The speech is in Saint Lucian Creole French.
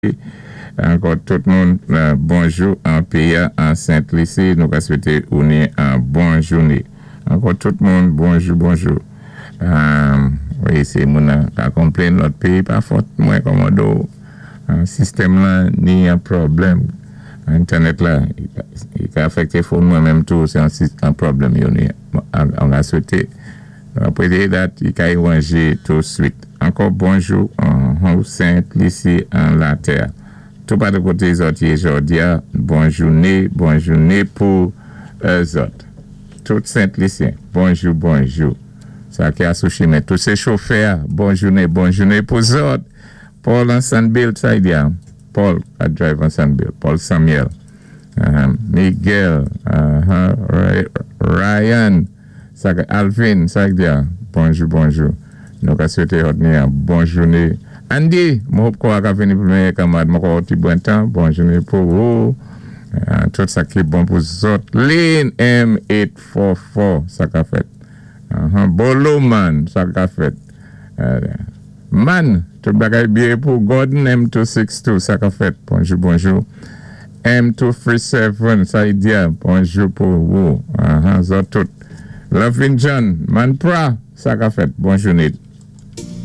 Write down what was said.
Ankò tout moun, bonjou an péyi an Sent Lisi. Nou ka swété ou ni an bon jouné. Ankò tout moun, bonjou, bonjou. Wi, sé moun ka konplenn lòt péyi, pa fòt mwen, kòmando. Sistèm lan ni an pwoblèm. Entènèt la, i ka afèkté phone mwen menm tou, sé an pwoblèm yo ni. An ka swété apwé dat i ka wanjé touswit. Ankò bonjou an Sent Lisi, an latè. Tou patou koté zòt yé jòdi-a, bon jouné, bon jouné pou zòt. Tout Sent Lisyen, bonjou, bonjou. Sa ki a sou chimen, tout sé chofè, bon jouné, bon jouné pou zòt. Paul an Sanbilt, sa i di a? Paul a drive an Sanbilt, Paul Samuel. Miguel, Ryan, sa Alvin, sa i di a? Bonjou, bonjou. Nou ka swété zòt ni an bon jouné. Andy, mwen hope kò a ka vini pou mèyè kanmad. Mwen kwè ti bon tan. Bon jouné pou ou. Tout sa ki bon pou zòt. Lynn M844, sa ka fèt. Bolo man, sa ka fèt. Man, tout bagay byen pou Gordon M262, sa ka fèt. Bonjou, bonjou. M237, sa i di a? Bonjou pou ou. Zòt tout. Lovin John, Man Pra, sa ka fèt. Bon jouné.